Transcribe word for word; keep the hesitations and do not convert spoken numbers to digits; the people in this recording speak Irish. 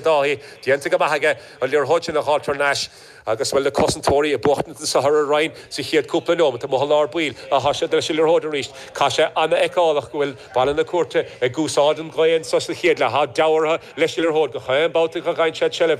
Dáithí déanta go maith aige an liathróid sin a fháil thar n-ais agus bhfuil na cosantóirí ag buachtaint sa thar a Rinn sa chéad cúpla nóiméad amuigh i lár baill atá siad leis an liathróid arís. Tá sé an-fheiceálach go bhfuil Baile na Cúirte ag úsáid an ghaoth sa chéad leath deabhartha leis an liathróid go chaon babhta go gcaithfidh siad seilbh